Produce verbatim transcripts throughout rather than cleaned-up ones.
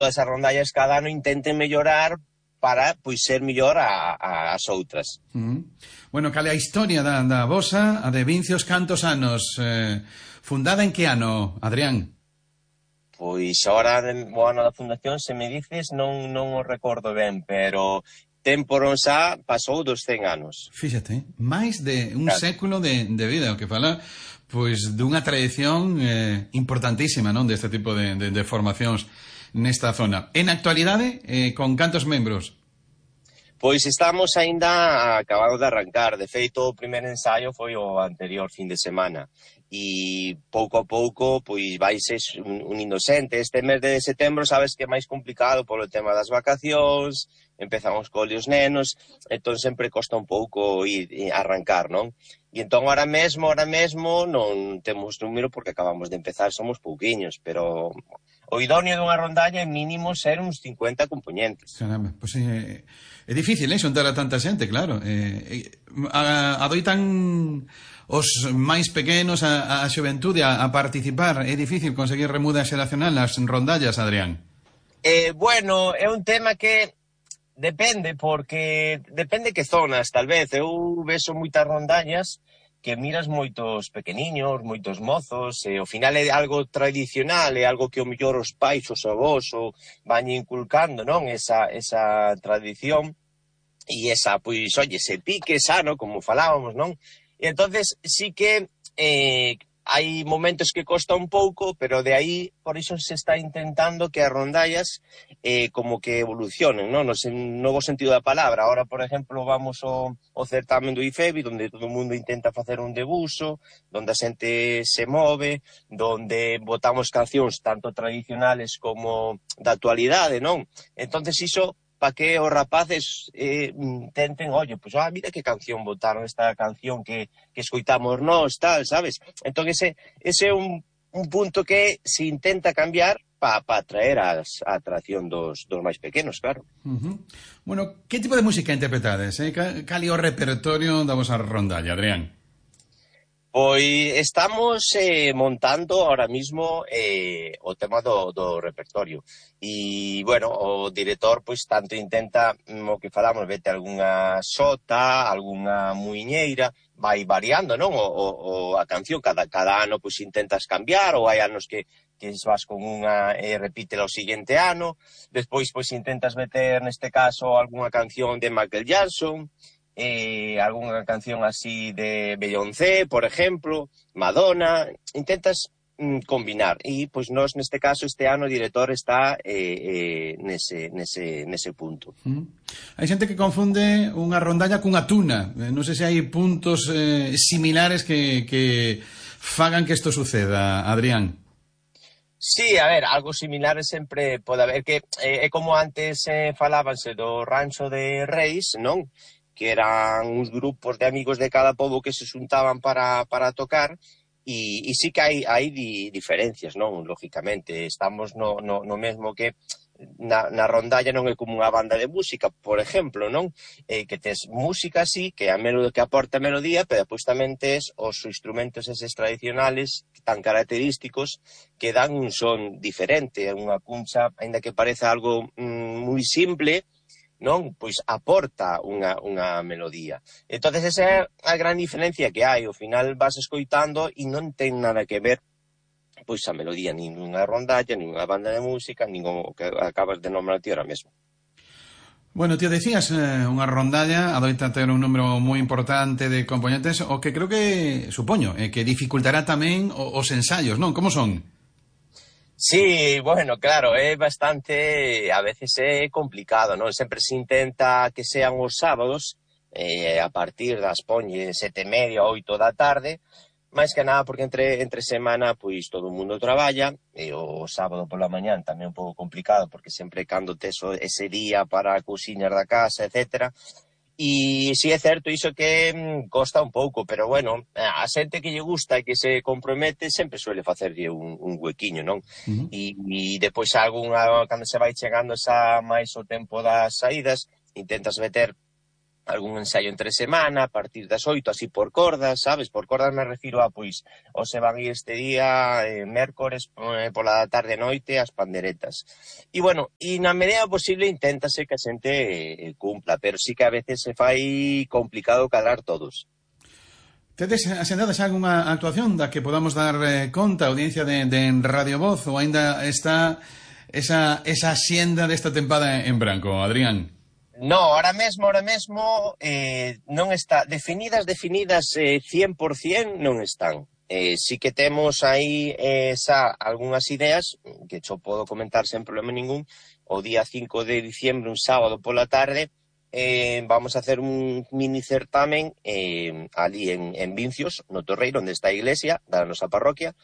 as rondallas cada ano intenten mellorar para, pois, ser mellor a, a, as outras. Uh-huh. Bueno, cale a historia da, da vosa, a de Vincios cantos anos, eh, fundada en que ano, Adrián? Pois, ahora, o ano da fundación, se me dices, non, non o recordo ben, pero tempo non xa pasou dos cen anos. Fíxate, máis de un Claro. século de, de vida, o que fala pois dunha tradición eh, importantísima, non, deste tipo de, de, de formacións nesta zona. En actualidade, eh, con cantos membros? Pois estamos aínda acabando de arrancar. De feito, o primeiro ensaio foi o anterior fin de semana. E pouco a pouco, pois, vaise unindo xente. Este mes de setembro, sabes que é máis complicado polo tema das vacacións, empezamos cos nenos, entón sempre costa un pouco ir arrancar, non? E entón, ahora mesmo, ahora mesmo, non temos número porque acabamos de empezar, somos pouquiños, pero o idóneo dunha rondalla é mínimo ser uns cincuenta componentes. Caramba, pois é, é difícil, eh, xuntar a tanta xente, claro. Eh, a, adoitan os máis pequenos, a, a xuventude a, a participar. É difícil conseguir remuda xeracional nas rondallas, Adrián? Eh, bueno, é un tema que depende, porque depende que zonas, tal vez. Eu vexo moitas rondallas que miras moitos pequeniños, moitos mozos, e ao final é algo tradicional, é algo que o mellor os pais, os avós, o van inculcando, non? Esa, esa tradición e esa, pois, oye, ese pique sano, como falábamos, non? E entonces sí que eh, hai momentos que costa un pouco, pero de aí, por iso se está intentando que as rondallas eh, como que evolucionen, non? No sen, novo sentido da palabra. Ahora, por exemplo, vamos ao, ao certamen do I F E B I, onde todo o mundo intenta facer un debuxo, onde a xente se move, onde botamos cancións tanto tradicionales como da actualidade, non? Entonces iso, para que os rapaces eh, tenten, oye, pues, ah, mira que canción botaron, esta canción que, que escoitamos nós, tal, sabes? Entón, ese, ese é un, un punto que se intenta cambiar para pa atraer as, a atracción dos, dos máis pequenos, claro. Uh-huh. Bueno, que tipo de música interpretades? Eh? Cal é o repertorio da vosa rondalla, Adrián? Pois estamos eh, montando ahora mismo eh, o tema do, do repertorio. E, bueno, o director, pois, tanto intenta, o que falamos, vete algunha xota, algunha muiñeira, vai variando, non? O, o, o a canción, cada, cada ano, pois, intentas cambiar, ou hai anos que, que vas con unha e eh, repítela o seguinte ano. Despois, pois, intentas meter, neste caso, algunha canción de Michael Jackson, eh, algunha canción así de Beyoncé, por exemplo, Madonna, intentas mm, combinar. E, pois, nós, neste caso, este ano o director está eh, eh, nese, nese, nese punto. Mm. Hai xente que confunde unha rondalla cunha tuna. Eh, non sei se hai puntos eh, similares que, que fagan que isto suceda, Adrián. Sí, a ver, algo similar sempre pode haber, que eh, é como antes eh, falábanse do Rancho de Reis, non? Que eran uns grupos de amigos de cada pobo que se xuntaban para, para tocar, e, e sí que hai, hai di, diferencias, non? Lógicamente, estamos no, no, no mesmo que na, na rondalla non é como unha banda de música, por exemplo, non? Eh, que tes música, sí, que a melodía, que aporta melodía, pero depois tamén tes os instrumentos eses tradicionales tan característicos que dan un son diferente. Unha cuncha, aínda que pareza algo mm, moi simple, non? Pois aporta unha, unha melodía. Entonces esa é a gran diferencia que hai. Ao final vas escoitando e non ten nada que ver pois a melodía, nin unha rondalla, nin unha banda de música, nin o que acabas de nombrar ti ahora mesmo. Bueno, tío, decías, eh, unha rondalla adoita ter un número moi importante de componentes, o que creo que, supoño, eh, que dificultará tamén os ensaios, non? Como son? Sí, bueno, claro, é bastante, a veces é complicado, non? Sempre se intenta que sean os sábados, eh, a partir das poñe sete e media, oito da tarde, máis que nada porque entre, entre semana, pois, todo o mundo traballa, e o sábado pola mañán tamén un pouco complicado, porque sempre cando tes ese día para cociñar da casa, etcétera. E si é certo iso que mm, costa un pouco, pero bueno, a xente que lle gusta e que se compromete sempre suele facerlle un, un huequiño, non? Uh-huh. E, e depois algunha, cando se vai chegando xa máis o tempo das saídas, intentas meter algún ensayo entre semana, a partir das oito, así por cordas, sabes? Por cordas me refiro a, pois, o se van ir este día, eh, mércores, eh, pola tarde e noite, as panderetas. E, bueno, e na medida posible inténtase que a xente eh, cumpla, pero sí que a veces se fai complicado cadrar todos. Tedes asentadas algunha actuación da que podamos dar eh, conta a audiencia de, de Radio Voz, ou ainda está esa, esa xenda desta tempada en branco, Adrián? No, ahora mesmo, ahora mesmo eh, non está, definidas, definidas eh, cien por cien non están. Eh, sí que temos aí eh, xa algunhas ideas, que xo podo comentar sen problema ningún. O día cinco de diciembre, un sábado pola tarde, eh, vamos a hacer un mini certamen eh, ali en, en Vincios, no Torreiro, onde está a iglesia da nosa parroquia,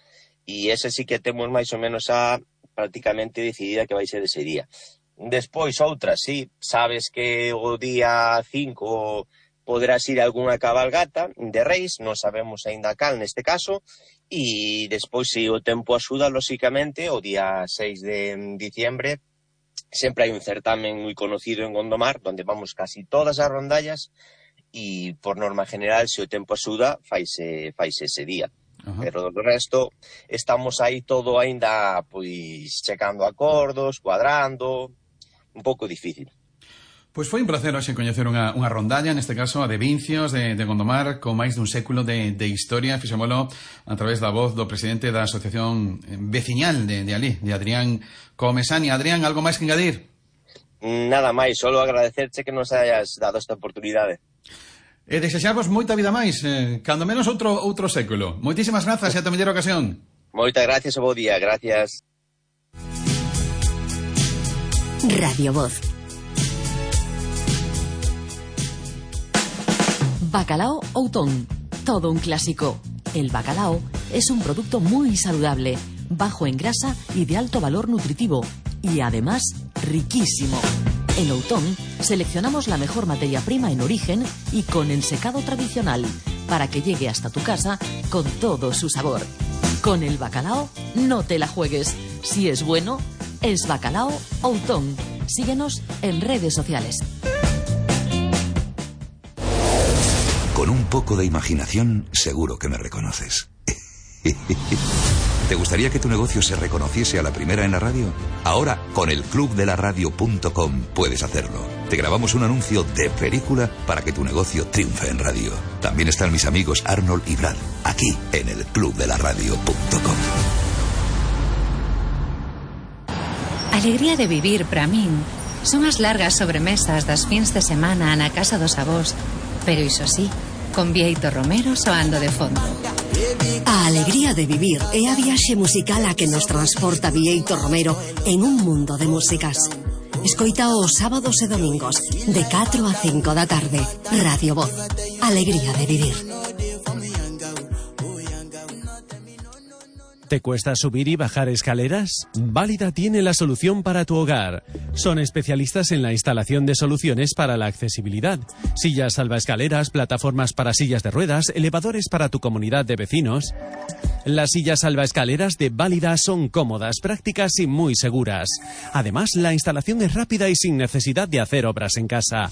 e ese sí que temos máis ou menos a prácticamente decidida que vai ser ese día. Despois, outras, sí, sabes que o día cinco poderás ir a algunha cabalgata de reis, non sabemos aínda cal neste caso, e despois, se o tempo axuda, lóxicamente, o día seis de diciembre, sempre hai un certamen moi conocido en Gondomar, onde vamos casi todas as rondallas, e por norma general, se o tempo axuda, faise, faise ese día. Uh-huh. Pero do resto, estamos aí todo aínda, pois, checando acordos, cuadrando, un pouco difícil. Pois foi un placer hoxe coñecer unha, unha rondalla, neste caso a de Vincios, de, de Gondomar, con máis dun século de, de historia. Fixémolo a través da voz do presidente da Asociación Veciñal de, de Alí, de Adrián Comesani. Adrián, algo máis que engadir? Nada máis, solo agradecerche que nos hayas dado esta oportunidade. E desexamos moita vida máis, eh, cando menos outro outro século. Moitísimas grazas e ata mellor ocasión. Moitas gracias e bo día, gracias. Radio Voz. Bacalao Outón, todo un clásico. El bacalao es un producto muy saludable, bajo en grasa y de alto valor nutritivo, y además riquísimo. En Outón seleccionamos la mejor materia prima en origen y con ensecado tradicional, para que llegue hasta tu casa con todo su sabor. Con el bacalao no te la juegues. Si es bueno, es Bacalao Outón. Síguenos en redes sociales. Con un poco de imaginación, seguro que me reconoces. ¿Te gustaría que tu negocio se reconociese a la primera en la radio? Ahora, con el club de la radio punto com puedes hacerlo. Te grabamos un anuncio de película para que tu negocio triunfe en radio. También están mis amigos Arnold y Brad, aquí en el club de la radio punto com. Alegría de vivir, para min, son as largas sobremesas das fins de semana na casa dos avós, pero iso sí, con Bieito Romero soando de fondo. A alegría de vivir é a viaxe musical a que nos transporta Bieito Romero en un mundo de músicas. Escoita os sábados e domingos de catro a cinco da tarde. Radio Voz. Alegría de vivir. ¿Te cuesta subir y bajar escaleras? Válida tiene la solución para tu hogar. Son especialistas en la instalación de soluciones para la accesibilidad. Sillas salvaescaleras, plataformas para sillas de ruedas, elevadores para tu comunidad de vecinos. Las sillas salvaescaleras de Válida son cómodas, prácticas y muy seguras. Además, la instalación es rápida y sin necesidad de hacer obras en casa.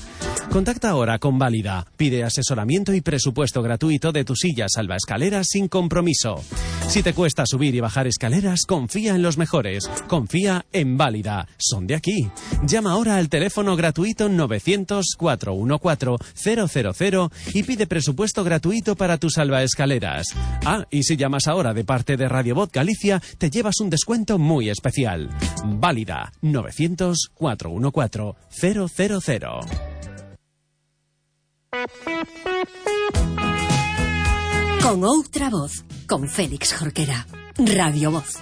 Contacta ahora con Válida. Pide asesoramiento y presupuesto gratuito de tu silla salvaescaleras sin compromiso. Si te cuesta subir y bajar escaleras, confía en los mejores. Confía en Válida. Son de aquí. Llama ahora al teléfono gratuito novecientos, cuatrocientos catorce, cero cero cero y pide presupuesto gratuito para tus salvaescaleras. Ah, y si llamas ahora de parte de Radio Voz Galicia, te llevas un descuento muy especial. Válida. novecientos, cuatrocientos catorce, cero cero cero. Con outra voz, con Félix Jorquera. Radio Voz.